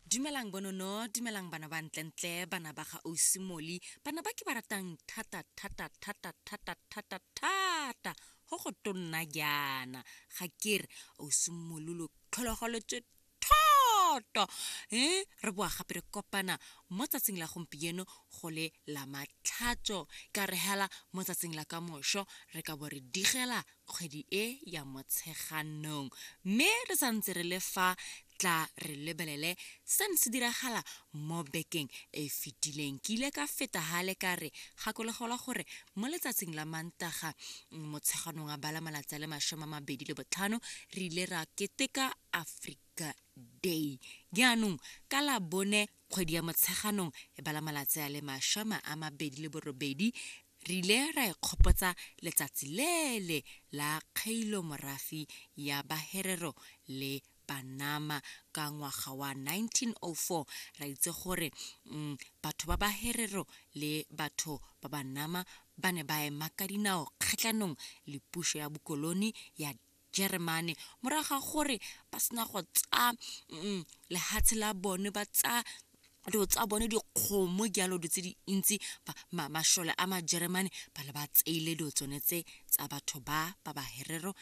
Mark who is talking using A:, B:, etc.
A: Dumelang bonono, dumelang bana ba ntlentle, bana ba ga Ausi Moli, bana ba ke ba ratang thata thata thata thata thata thata go go tonna jaana. Ga ke re Ausi Moli lo tlhologeletswe thata. E re boa gape re kopana mo tsatsing la gompieno go le la matlhatso ka re hela mo tsatsing la kamoso re ka bo re digela kgwedi e ya Motsheganong. Mme re sa ntse re le fa, tla re lebelele se ne se diragala mo bekeng e e fetileng. Ke ile ka feta gale ka re gakologelwa gore mo letsatsing la Mantaga, Motsheganong a bala malatsi a le 25, re ile ra keteka Africa Day. Jaanong ka Labone kgwedi ya Motsheganong e bala malatsi a le 28, Re ile ra ikgopotsa letsatsi lele la kgeilomorafi ya Baherero le Banama ka ngwaga wa 1904. Ra itse gore batho ba Baherero le batho ba Banama ba ne ba ema ka dinao kgatlhanong le puso ya bokoloni ya Jeremane morago ga gore ba sena go tsaya lehatshe la bone, ba tsaya dilo tsa bone, dikgomo jalo, dilo tse dintsi. Masole a Majeremane ba le ba tseile dilo tsone tse tsa batho ba ba Baherero le.